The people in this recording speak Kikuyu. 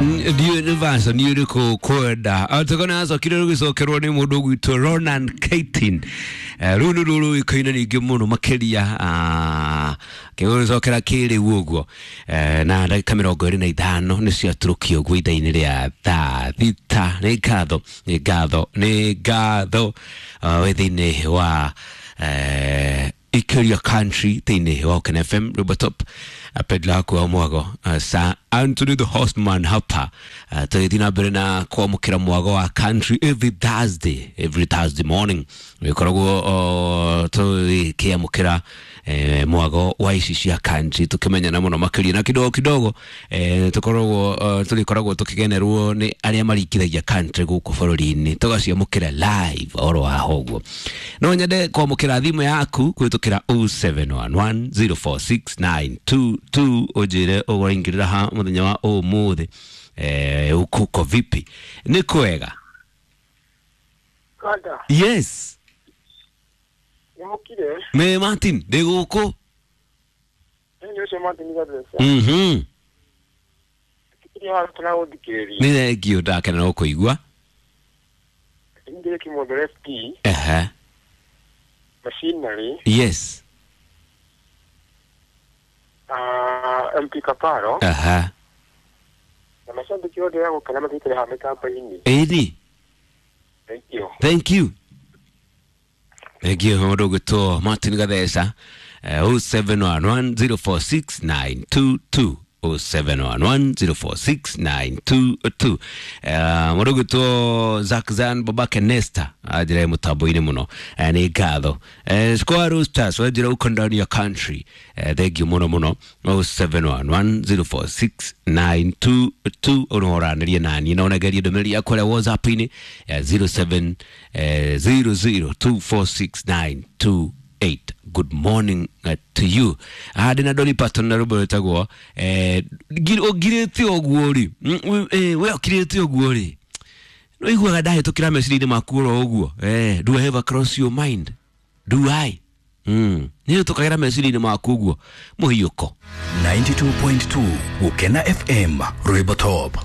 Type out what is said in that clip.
Ndiå nä vaco nä å rä kå kwenda tåkona acokire rå gä cokerwo nä må ndå gwitå Ronan Keating. Rä u nä rå rå ä kaine ningä må no makä ria kä gå cokera kä rä u å guo na ndagä ka 25 nä ciatå å guo ithaa-inä rä a thaa 6. Nä ngatho, nä ngatho, nä ngatho wä thä inä wa Ikeria Country thĩinĩ wa Oken FM Rubotop pedla haku wa mwago Sir Anthony the Horseman hapa, tũgĩthiĩ na mbere na kwamũkĩra mwago wa country every Thursday, every Thursday morning gĩkoragwo tũgĩkĩamũkĩra mwago wa ici cia country, tũkĩmenyana mũno makĩria na kidogo kidogo tũkoragwo tũgĩkoragwo tũkĩgenerwo nĩ arĩa maringithagia country gũkũ bũrũri-inĩ, tũgaciamũkĩra live oro haha ũguo. No nyende kwamũkĩra thimũ yaku kũhĩtũkĩra 0711046922 ũnjĩre ũraingĩrĩra ha mũthenya wa ũmũthĩ, kuko vipi? Nĩ kwega. Kanda, Yes. nĩ mũkire? Me Martin ndĩ gũkũ. Nĩ ũcio Martin Gathesa. Tikiria wa tũragũthikĩrĩria. Nĩ thengio, ndakena no kũigua. Ingĩrĩ Kĩmondoro FP, Ehe. Machinery, Yes. MP Kaparo, Aha. na macambĩki othe ya gũkena mathiĩte haha mĩtambo-inĩ. Ĩni. Thank you. Thank you. Thank you mũndũ ũgwĩtwo Martin Gatheca, 0711046922, 0711046922. Mũndũ ũgwĩtwo Zakzan babake Nesta anjĩra mũtambo-inĩ mũno. Nĩ ngatho. Square Roosters wanjĩra uko ndani ya country. Thank you mũno mũno. 0711046922 ũnoranĩrie naniĩ na ũnengerie ndũmĩrĩri yakwa ĩrĩa WhatsApp-inĩ ya 0700246928. Good morning to you. Ndĩ na Dolly Parton na rwĩmbo rwĩtagwo ũngirĩte ũguo rĩ. We ũkirĩte ũguo rĩ, no iguaga ndahĩtũkĩra meciria-inĩ maku oro ũguo. Do I ever cross your mind? Do I nĩ hĩtũkagĩra meciria-inĩ maku ũguo mũhiũko. 92.2 Gukena FM Rwimbo Top.